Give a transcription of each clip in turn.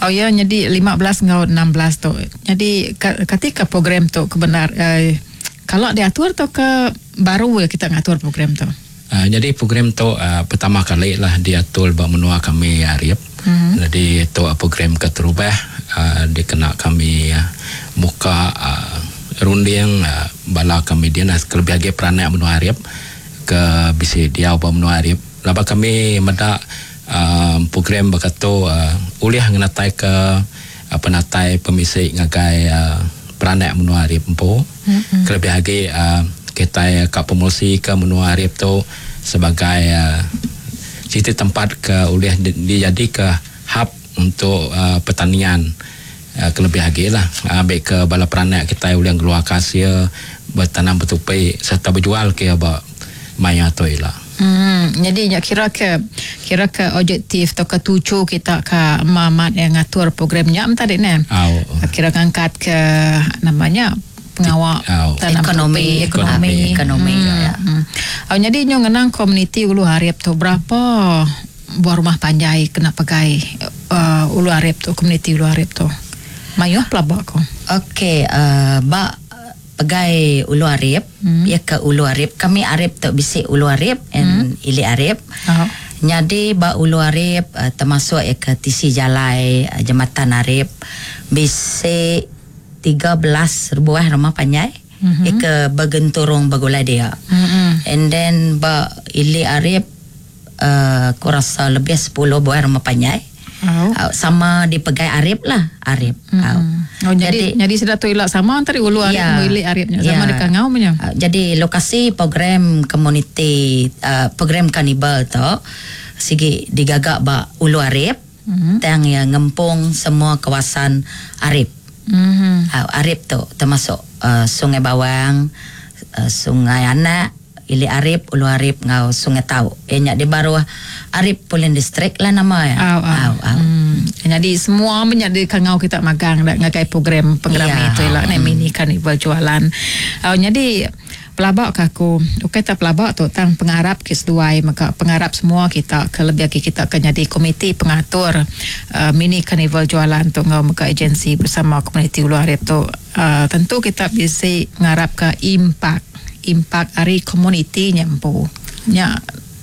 Oh ya, jadi 15 enggau 16 tu. Jadi katika program tu kebenar eh, kalau diatur tu ke baru ya kita ngatur program tu? Jadi program tu pertama kali lah diatur ba menua kami Arip. Jadi tu program keterubah dikena kami muka runding bala kami dia kelebih lagi peranak menua Arip ke bisi diau ba menua Arip. Laba kami meda program berkatu ulih ngenatai ke penatai pemisi ngagai peranak menua Arip empu. Kelebih lagi kita ke promosi ke menua Arip tu sebagai siti tempat ke ulih dijadi ke hub untuk pertanian. Kelebih lagi lah ambil ke bala peranak kita ulih keluar hasil bertanam bertupi serta berjual ke ba maya tu ila. Jadi nya kira ke objektif atau ke tuju kita ke mamat yang ngatur programnya tadi ne. Au. Kira ngangkat ke namanya pengawal Au. tanam Ekonomi. tupi, ekonomi. Ekonomi, ya. Oh, jadi nyo ngenang komuniti Ulu Arip tu berapa buah rumah panjai kena pegai Ulu Arip tu, komuniti Ulu Arip tu? Mayuh pelabak ko. Okey, ba pegai Ulu Arip, ya ke Ulu Arip. Kami Arip tu bisi Ulu Arip and Ili Arip. Oh. Jadi ba Ulu Arip termasuk ya ke tisi jalai Jembatan Arip bisi 13 buah rumah panjai. Ya ke bergenturung bergulai dia. And then ba Ili Arip aku rasa lebih 10 buah rumah panjai. Oh. Sama dipegai Arip lah, Arip. Oh, jadi jadi, jadi sudah tu ilak sama antara Ulu Arip yeah. Ili Aripnya sama yeah. dekat ngau punya. Jadi lokasi program komuniti program karnival tu sigi digagak ba Ulu Arip tang yang ngempung semua kawasan Arip. Arip tu termasuk Sungai Bawang, Sungai Anak, Ili Arip, Ulu Arip ngau Sungai Tau. Eh nyak di bawah Arip Pulin District lah nama ya. Au, au. Au, au. Jadi semua menjadi kangau kita magang dak ngagai program program itu lah ni mini karnival jualan. Oh, jadi pelabak ke aku. Okey tak pelabak tu tang pengarap ke seduai maka pengarap semua kita ke lebih lagi kita akan jadi komiti pengatur mini karnival jualan tu ngau maka agensi bersama komuniti Ulu Arip tu tentu kita bisa ngarap ke impak impak ari komuniti nyampu. Nya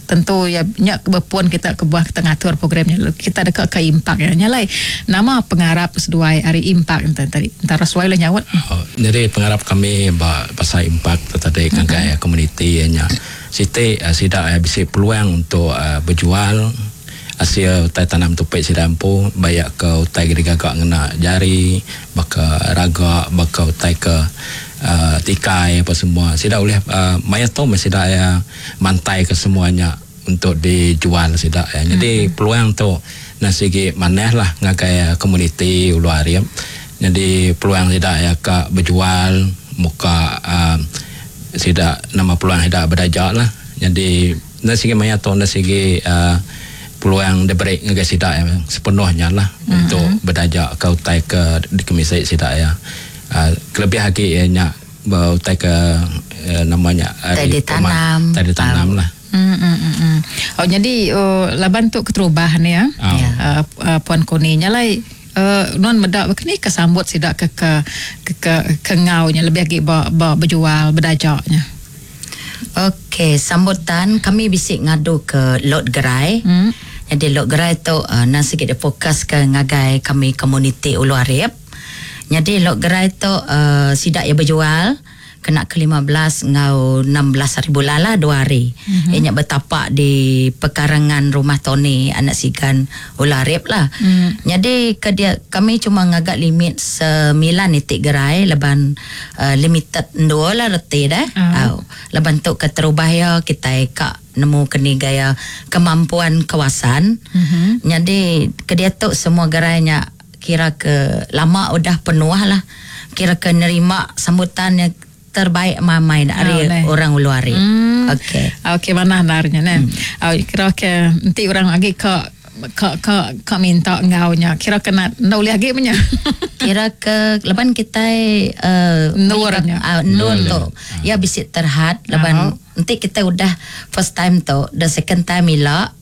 tentu ya nya berpuan kita ke buah kita ngatur programnya kita dekat ke impak ya nyalai nama pengarap seduai ari impak tadi antara sesuai lah nyawat. Oh, jadi pengarap kami ba pasal impak tu tadi kan mm-hmm. komuniti nya siti sida bisi peluang untuk berjual hasil utai tanam tupik sida empu bayak ke utai digagak ngena jari baka raga baka utai ke tikai apa semua sida boleh maya tu mesti sida ya mantai ke semuanya untuk dijual sida ya. Jadi peluang tu nasi gi maneh lah ngagai komuniti Ulu Arip. Jadi peluang sida ya ka berjual muka sida nama peluang sida berdajak lah. Jadi nasi gi maya tu nasi gi peluang diberi ngagai sida ya, sepenuhnya lah untuk berdajak ke utai ke di kemisai sida ya. Kelebih lagi ya nya utai ke namanya utai ditanam. Utai ditanam lah. Oh, jadi oh, laban tu keterubah ni ya. Oh. Ya. Puan Koni nyalai non medak begini kesambut sidak ke ngaunya lebih lagi ba, ba berjual berdajaknya. Okey, sambutan kami bisik ngadu ke lot gerai. Jadi lot gerai tu nang sikit dia fokus ke ngagai kami komuniti Ulu Arip. Jadi lot gerai tu sidak yang berjual kena ke 15 ngau 16 hari bulan lah 2 hari. Ianya bertapak di pekarangan rumah Tony anak sigan Ulu Arip lah. Jadi ke dia kami cuma ngagak limit 9 itik gerai leban limited dua lah reti dah. Au. Leban tu ke terubah ya kita kak nemu keni gaya kemampuan kawasan. Jadi ke dia tu semua gerainya kira ke lama udah penuh lah. Kira ke nerima sambutan yang terbaik mamai dari Oh, deh. orang Ulu Arip. Okey. Okey, mana narnya ne. Oh, kira ke nanti orang lagi ke ke ke ke minta ngaunya kira kena ndak boleh lagi punya. Kira ke leban kita Nurnya. Nur tu. Ya bisik terhad leban nanti kita udah first time tu, the second time ila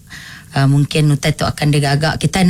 mungkin utai tu akan digagak kita.